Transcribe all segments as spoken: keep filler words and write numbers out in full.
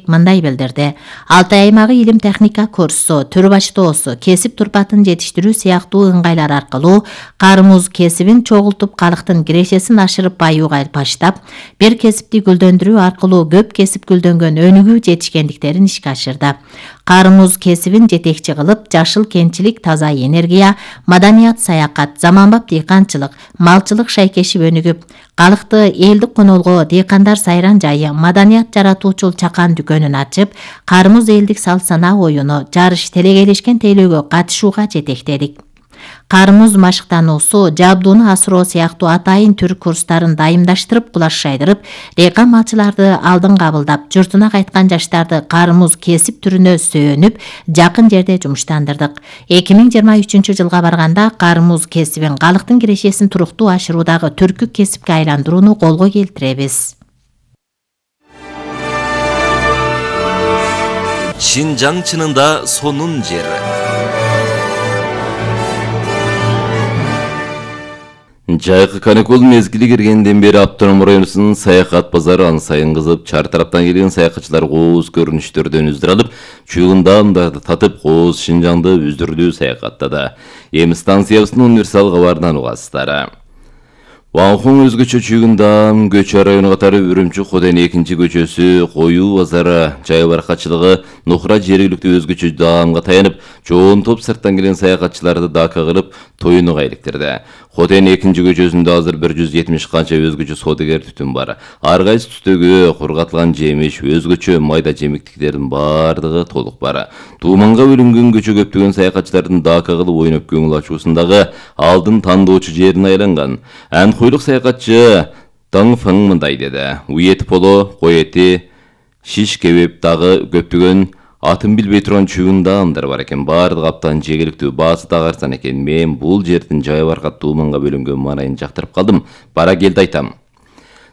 Атамбек мындай билдирди. Алтай аймагы илим техника курсу, түр баштоосу, кесип турпатын жетиштирүү сыяктуу ыңгайлар аркылуу кары муз кесибин чогултуп калктын кирешесин ашырып баюуга баштап, бир кесипти гүлдөндүрүү аркылуу көп кесип гүлдөнгөн өнүгүү жетишкендиктерин ишке ашырды. Кары муз кесибин жетекчи кылып, жашыл кентчилик, таза энергия, маданият, саякат, заманбап дыйканчылык, малчылык шайкешип өнүгүп, калкты элдик конолго дыйкандар сайран жайы, маданият жаратуучул чакан дүкөнүн ачып, кары муз элдик салт санаа оюну, жарыш, телегейлешкен тейлөөгө катышууга жетектедик. Кары муз машыктануусу, жабдууну асыроо сыяктуу атайын түр курстарын дайымдаштырып, кулаш шайдырып, дыйкан малчыларды алдын кабылдап, журтуна кайткан жаштарды кары муз кесип түрүнө сөөнүп, жакын жерде жумуштандырдык. эки миң жыйырма үчүнчү жылга барганда кары муз кесибин калктын кирешесин туруктуу ашыруудагы түркү кесипке айландырууну колго келтиребиз. Шинжаң чынында сонун жер. Жайкы каникул мезгили киргенден бери автоном районунун саякат базары ан сайын кызып, чар тараптан келген саякатчылар кооз көрүнүштөрдөн үздүр алып, чуюгундамдарды татып, кооз Шинжаңды үздүрлүү саякаттады. Эми станциябыздын универсал кабарынан угасыздар. Ванхун өзгөчө чүйгүндам көчө району катары Үрүмчү Хотен экинчи көчөсү, Коюу базары, жай баракчылыгы, Нухра жергиликтүү өзгөчө даамга таянып, чоң топ сырттан келген саякатчыларды дака кылып, тоюнуга иликтирди. Хотен экинчи көчөсүндө азыр бир жүз жетимиш канча өзгөчө содагер түтүн бар. Ар кайсы түстөгү кургатылган жемиш, өзгөчө майда жемиктиктердин бардыгы толук бар. Тууманга бөлүнгөн көчө көптөгөн саякатчылардын дака кылып ойноп көңүл ачуусундагы алдын тандоочу жерине айланган. Анхойлук саякатчы Таң Фың мындай деди. Ует поло, кой эти, шиш кебеп дагы көптөгөн атын билбей турган чүйгүндаамдар бар экен. Бардык аптан жегиликтүү баасы тагарсан экен. Мен бул жердин жай баркат тууманга бөлүнгөн маанайын жактырып калдым. Бара келди айтам.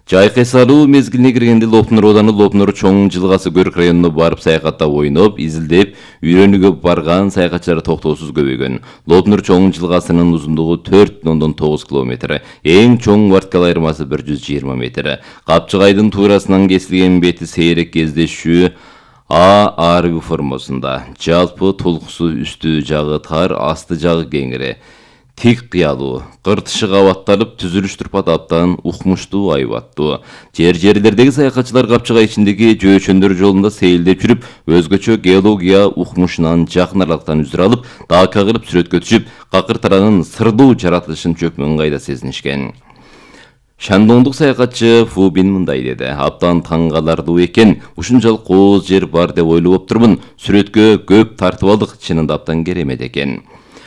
Жайкы салуу мезгилине киргенде Лопнур ооданы Лопнур чоң жылгасы Көрк районуна барып саякатта ойноп, изилдеп, үйрөнүүгө барган саякатчылар токтоосуз көбөйгөн. Лопнур чоң жылгасынын узундугу төрт бүтүн ондон тогуз километр, эң чоң варткал айырмасы бир жүз жыйырма метр. Капчыгайдын туурасынан кесилген бети сейрек кездешүү А арбы формасында. Жалпы толкусу үстү жагы тар, асты жагы кеңири. Тик кыялуу, кыртышы кабатталып, түзүлүш турпат аптан укмуштуу, айбаттуу. Жер-жерлердеги саякатчылар капчыгай ичиндеги жөөчөндөр жолунда сейилдеп жүрүп, өзгөчө геология укмушунан жакын аралыктан үзүр алып, дака кылып сүрөткө түшүп, какыртаранын сырдуу жаратылышын чөкмөн кайда сезинишкен. Шандоңдук саякатчы Фубин мындай деди. Аптан таң калардуу экен, ушунчалык кооз жер бар деп ойлоп турмун. Сүрөткө көп тартып алдык, чынында аптан керемет экен.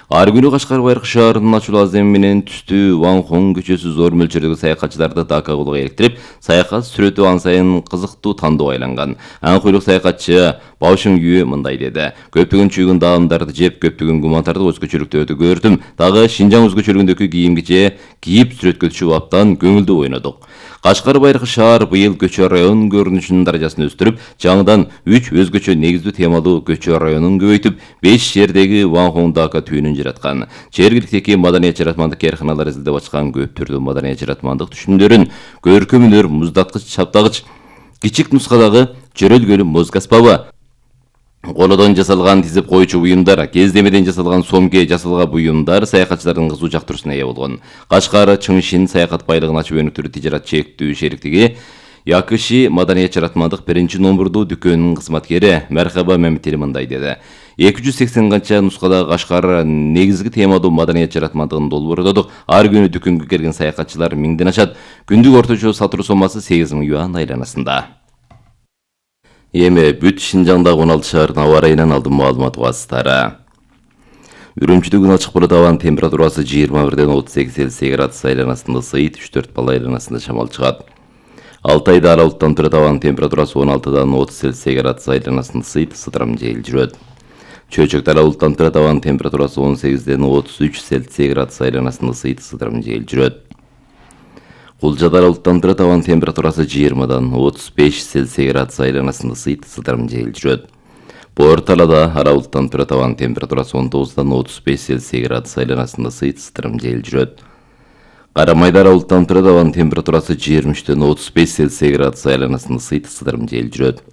Ар күнү Кашкар Байыркы шаарынын ачуу азем менен түстүү Ванхун көчөсү зор мөлчөрдөгү саякатчыларды дака кылууга иликтирип, саякат сүрөтү ан сайын кызыктуу тандоо айланган. Анхойлук саякатчы Баушың Юэ мындай деди. Көптөгөн чүйгүн даамдарды жеп, көптөгөн гумантарды өзгөчөлүктөрдү көрдүм. Дагы Шинжаң өзгөчөлүгүндөгү кийим-киче кийип сүрөткө түшүп аптан көңүлдүү ойнодук. Кашкар Байыркы шаар быйыл көчө район көрүнүшүнүн даражасын өстүрүп, жаңыдан үч өзгөчө негиздүү темалуу көчө районун көбөйтүп, беш жердеги Ванхун дака түйүнүн жараткан. Жергиликтеги маданият жаратмандык кээрканалар изилдеп ачкан көп түрдүү маданият жаратмандык түшүмдөрүн, көркөмүнөр, муздаткыч, чаптагыч, кичик нускадагы жөрөлгөлүү музыка аспабы, колодон жасалган тизип койчу буюмдар, кездемеден жасалган сомге жасалган буюмдар саякатчылардын кызуу жактыруусуна ээ болгон. Кашкар Чыңшин саякат байлыгын ачып өнүктүрүү тижарат чектүү шериктиги Якыши маданият жаратмандык биринчи номурдуу дүкөнүнүн кызматкери Мерхаба Мемтели мындай деди. эки жүз сексен канча нускада Кашкар негизги темадуу маданият жаратмандыгын долбоордодук. Ар күнү дүкөнгө келген саякатчылар миңден ашат. Күндүк орточо сатуу сомасы сегиз миң юан айланасында. Эми бүт Шинжаңдагы он алты шаардын аба ырайынан алдын маалымат угасыздар. Үрүмчүдө күн ачык болот, абанын температурасы жыйырма бирден отуз сегиз градус айланасында ысыйт, үч төрт балл айланасында шамал чыгат. Алтайда ара булуттан турат, абанын температурасы он алтыдан отуз градус айланасында ысыйт, ысытырам жел жүрөт. Чөйчөктө ара булуттан турат, абанын температурасы он сегизден отуз үч градус айланасында ысыйт, ысытырам жел жүрөт. Кулжада ара булуттан турат, абанын температурасы жыйырмадан отуз беш градус айланасында ысыйт, ысытырам жел жүрөт. Боор Талада ара булуттан турат, абанын температурасы он тогуздан отуз беш градус айланасында ысыйт, ысытырам жел жүрөт. Карамайда ара булуттан турат, абанын температурасы жыйырма үчтөн отуз беш градус айланасында ысыйт, ысытырам жел жүрөт.